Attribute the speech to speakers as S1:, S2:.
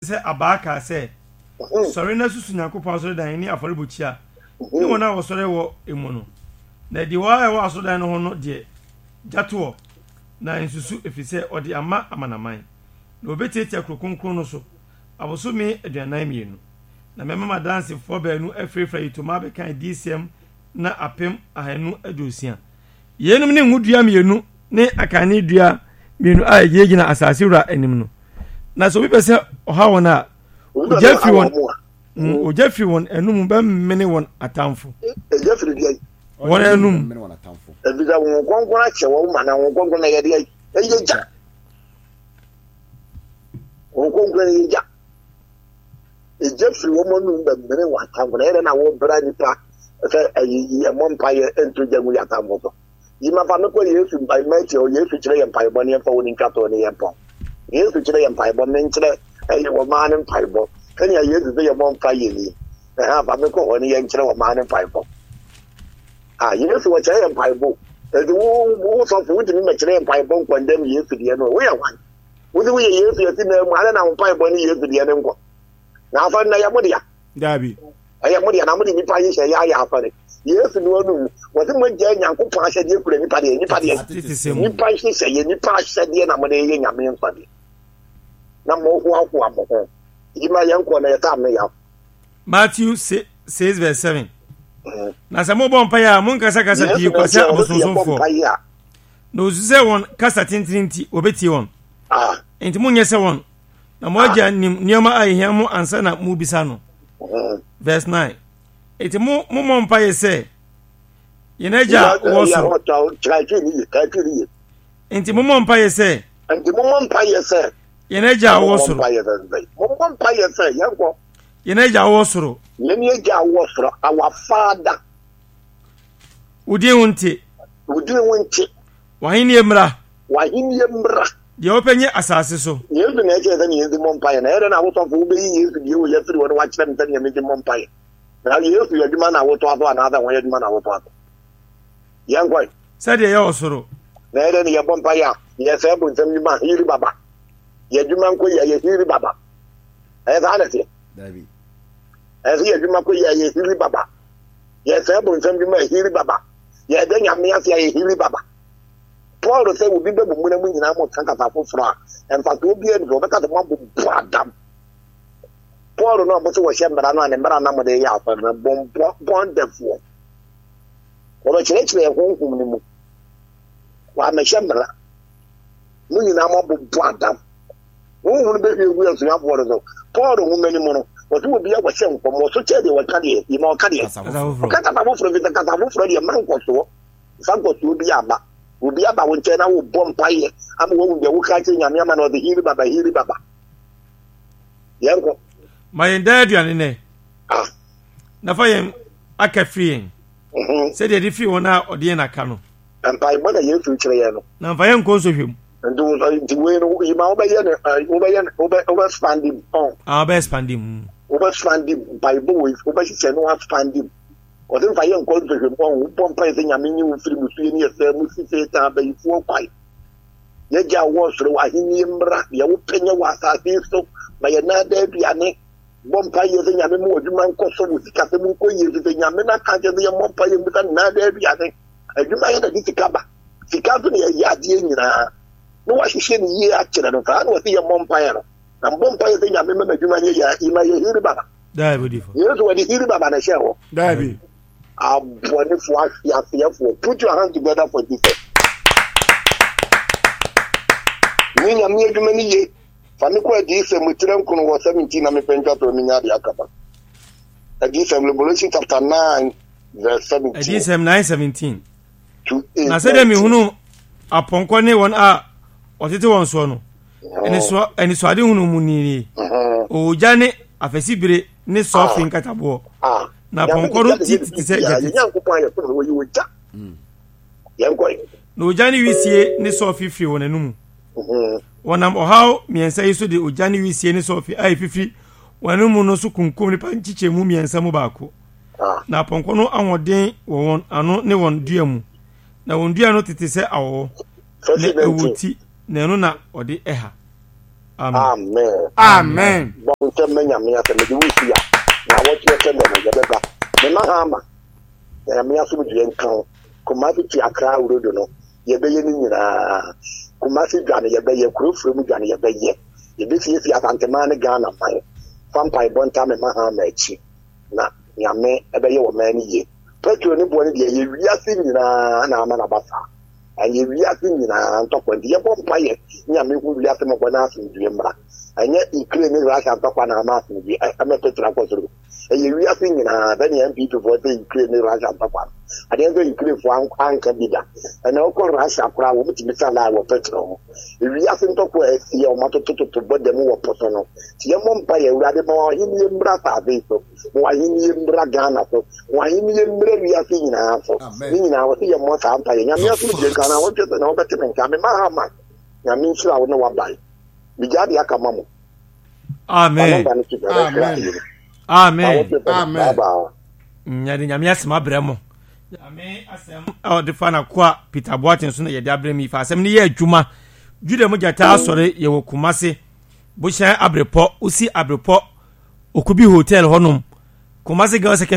S1: sɛ abaa kaa sɛ, Sɔre na susu Nyankopɔn asɔredan ne afɔrebukyia ne wɔn a wɔsɔre wɔ emu no. Na adiwo a ɛwɔ asɔredan no ho no deɛ, gya toɔ, na nsusu, ɛfiri sɛ ɔde ama amanaman. Na wɔbɛtiatia kuro kronkron no so abosome 42. Na mɛma m'adansefoɔ baanu afirafira ayitoma abɛka adiyisɛm nna 1260. Yeinom ne ngodua mmienu ne akaneadua mmienu a ɛgyinagyina asase wura anim no. Na sɛ obi pɛ sɛ ɔha wɔn a, ogya firi wɔn mm, ogya firi wɔn anum bɛmene wɔn atamfo.
S2: Egya firi deɛ?
S1: Wɔn anum.
S2: Efisɛ wɔn kronkron akyɛ wɔn ma na wɔn kronkron na ɛyɛ deɛ? Ɛyɛ gya. Wɔn kronkron ɛyɛ gya. Egya firi wɔn anum bɛmene wɔn atamfo. Na ɛyɛ dɛ na wɔbra nipa sɛ ɛyi ɛmɔ mpaeɛ nto gya ngu yɛ atamfo so. Yi ma fa me kɔ Yesu mpae Matthew hɔ Yesu kyerɛ yɛ mpaebɔ ne yɛmfa wɔ ne ntwatoɔ ne yɛn pɔn. Yesu kyerɛ yɛ mpaebɔ menkyerɛ ɛyɛ wɔ maa ne mpaebɔ sɛnea Yesu sɛ yɛmmɔ mpa yɛ ni. Ɛha fa me kɔ hɔ ne yɛnkyerɛ wɔ maa ne mpaebɔ. Ah, Yesu wɔkyerɛ yɛ mpaebɔ. Ɛnti wo wo sɔfo wotumi mɛkyerɛ yɛ mpaebɔ nkɔndɛm Yesu deɛ no. Woyɛ hwan? Wode woyɛ Yesu asi nan mu adɛn na wo mpaebɔ ne Yesu deɛ no nkɔ? Na afɔre no ɛyɛ mo dea.
S1: Daabi.
S2: Ɛyɛ mo dea na mode nnipa nhyehyɛeɛ ayɛ afɔre. Yesu no anum, wɔse moagyae Nyankopɔn ahyɛdeɛ kura nnipa deɛ, nnipa deɛ, nnipa nhyehyɛeɛ, nnipa ahyɛdeɛ na mode yɛ Nyame mfadeɛ. Na mohoahoa mo ho. Yi ma yɛnkɔ na yɛtaa me yaw.
S1: Matthew 6 verse 7. Mm. Na sɛ mobɔ mpaeɛ a monkasakasa pii kwa sɛ abosonsomfoɔ. Na osu sɛ wɔn kasa tenten nti wɔbɛtie wɔn.
S2: Ah.
S1: Enti monyɛ sɛ wɔn. Na mo agya nim nneɛma a ehia mo ansa na mobisa no. Verse 9. Enti mo mommɔ mpaeɛ sɛ, Yɛn agya a wɔ soro. Enti mommɔ mpaeɛ sɛ.
S2: Enti mommɔ mpaeɛ sɛ.
S1: Yɛn agya a wɔ soro.
S2: Mommɔ mpaeɛ sɛ yɛnkɔ.
S1: Yɛn agya a wɔ soro.
S2: Yɛn agya a wɔ soro, our father.
S1: Wo din ho nte.
S2: Wo din ho nte.
S1: W'ahenni mmra.
S2: W'ahenni mmra.
S1: Deɛ wopɛ nyɛ asase so.
S2: Yesu na ɛkyerɛ sɛnea yɛnsi mmɔ mpaeɛ. Na ɛyɛ dɛn na wo sɔfo wobɛyi Yesu deɛ wei afiri hɔ na wakyerɛ me sɛnea mensi mmɔ mpaeɛ? Na Yesu yɛ adwuma na wotoa so anaasɛ wɔn adwuma na wotoa so? Yɛnkɔe.
S1: Sɛdeɛ ɛyɛ wɔ soro.
S2: Na ɛyɛ dɛn na yɛbɔ mpaeɛ a yɛsɛe bonsam nnwuma hiri baba? Yɛ adwuma nkɔ yie a yɛhiri baba. Ɛyɛ saa na ɛteɛ?
S3: Dabi.
S2: Ɛyɛ sɛ yɛ adwuma kɔ yie a yɛhiri baba. Yɛsɛe bonsam dwuma a hiri baba. Yɛda Nyame ase a yɛhiri baba. Paul sɛ obi bɛ mo mu na mo nyinaa mo ka kasa foforɔ a, mfasoɔ biara nni so. Wɔbɛka sɛ moabobɔ adam. Paul no a mo sɛ wɔhyɛ mmara no a ne mmara na mode yɛ asɔre no, bɔnbɔ bɔndɛfoɔ. Wɔbɛkyerɛkyerɛ honhom no mu. Wɔamɛhyɛ mmara. Mo nyinaa moabobɔ adam. Honhom no bɛhwie gu asuafoɔ no so. Paul nwoma no mu no, wɔse obi a wɔhyɛ nkɔm, wɔso kyɛ deɛ wɔka deɛ, yi ma ɔka deɛ. Ɔka kasa foforɔ fi sɛ kasa foforɔ deɛ mma nkɔsoɔ. Mfa nkɔsoɔ bi amma. Obi aba wo nkyɛn na wobɔ mpaeɛ ama wahu deɛ woka akyerɛ Nyame ama no ɔde hiri baba hiri baba. Yɛnkɔ.
S1: Ma yɛn daa aduane nnɛ.
S2: Ah.
S1: Na fa yɛn aka firi yɛn.
S2: Mhm.
S1: Sɛdeɛ yɛde firi wɔn a ɔde yɛn aka no.
S2: Mpaebɔ na Yesu kyerɛ yɛn no.
S1: Na mfa yɛn nkɔ nsɔhwɛ mu.
S2: Nti nti wei no yi ma wobɛyɛ no wobɛyɛ no wobɛ wobɛ spandi mu.
S1: Ah wobɛ spandi mu.
S2: Wobɛ spandi mu mpaebɔ wei wobɛhyehyɛ no aspandi mu. Ɔse mfa yɛn nkɔ nsɔhwɛ mu ɔho wobɔ mpae sɛ Nyame nyi wo mfiri musuo ne ɛsɛe mu si Satan abayifoɔ kwan. Yɛgya a wɔ soro w'ahennie mmra deɛ wopɛ nyɛ wɔ asase yi so ma yɛn nan daa aduane. Bɔ mpae yɛ sɛ Nyame ma w'adwuma nkɔ so wo sikasɛm nkɔ yie efisɛ Nyame no aka akyerɛ sɛ yɛmmɔ mpae mmisa no nan daa aduane. Adwuma yɛ na de sika ba. Sika nso na yɛyɛ adeɛ nyinaa. Na wahyehyɛ no yie akyerɛ no saa na ɔse yɛmmɔ mpaeɛ no. Na mbɔ mpaeɛ sɛ Nyame ma m'adwuma nyɛ yie a, ima yɛ hiri baba.
S1: Daabi odifo.
S2: Yesu wɔde hiri baba na ɛhyɛɛ hɔ.
S1: Daabi.
S2: Abɔnefoɔ ahweaseɛfoɔ put your hand together for Jesus. Ne Nyame adwuma no ye. Fa me kɔ Adiyisɛm etire nkono wɔ 17 na mepɛ ntwa toɔ menya adeɛ aka ba. Adiyisɛm Revelation chapter 9 verse 17.
S1: Adiyisɛm 9 17. Na sɛdeɛ mehunu apɔnkɔ ne wɔn a wɔtete wɔn soɔ no, anisoadehunu mu nie, ogya ne afasibire ne sɔfe nkataboɔ, na apɔnkɔ no ti tete sɛ gyata ti. Na ogya ne wisie ne sɔfe firi wɔn anomu. Wɔnam ɔhaw mmiɛnsa yi so de ogya ne wisie ne sɔfe a efifiri wɔn anomu no so kunkum nnipa nkyekyɛmu mmiɛnsa mu baako. Na apɔnkɔ no ahoɔden wɔ wɔn ano ne wɔn dua mu, na wɔn dua no tete sɛ awɔwɔ, na ɛwɔ ti, na ɛno na ɔde ɛha.
S2: Amen.
S1: Amen.
S2: Ntɛm ma Nyame asɛm mede wo si a na wɔtwe sɛ nɛ no yɛbɛba. Mema ha ama na Nyame asomdwoeɛ nka wo. Kumasi to Accra road no yɛbɛyɛ ne nyinaa. Kumasi dwa no yɛbɛyɛ, kuro frɛ mu dwa no yɛbɛyɛ. Yɛbɛsiesie Asanteman ne Ghana man. Fa mpaebɔ ntaa me ma ha ama akyi na Nyame ɛbɛyɛ wɔ man no yie. Petrol ne boɔ no deɛ ɛyɛ wiase nyinaa na ama no aba saa. Ɛyɛ wiase nyinaa ntɔkwa nti yɛbɔ mpaeɛ Nyame hu wiase mmɔbɔ na asomdwie mmra. Ɛnyɛ Ukraine ne Russia ntɔkwa na ama asomdwie ɛma petrol akɔ soro. Ɛyɛ wiase nyinaa sɛnea NPP foɔ sɛ Ukraine ne Russia ntɔkwa no. Adeɛ nso Ukraine foɔ anka bi da. Ɛna wokɔ Russia koraa wɔn tumi sa line wɔ petrol ho. Wiase ntɔkwa a asi a wɔn atotototo bɔ dam wɔ po so no. Nti yɛmmɔ mpaeɛ Awurade ma w'ahennie mmra asase yi so. Ma w'ahennie mmra Ghana so. Ma w'ahennie mmra wiase nyinaa so. Ne nyinaa wɔ sɛ yɛmmɔ saa mpaeɛ. Nyame asomdwie nka na wɔntwe sɛ na wɔbɛte me nka. Mema ha ma Nyame nhyira wo ne w'aban. Megyaa deɛ aka ma mo.
S1: Amen.
S3: Amen.
S1: Amen.
S3: Amen.
S1: Nyade nyame asɛm abrɛ mo. Nyame asɛm a ɔde fa n'akoa Peter Boateng so na yɛde abrɛ mi fa asɛm no yɛ adwuma. Juda mu gyata asɔre yɛwɔ Kumase. Bohyɛn Abrepɔ, wosi Abrepɔ Okubi Hotel hɔnom. Kumase Girls Secondary.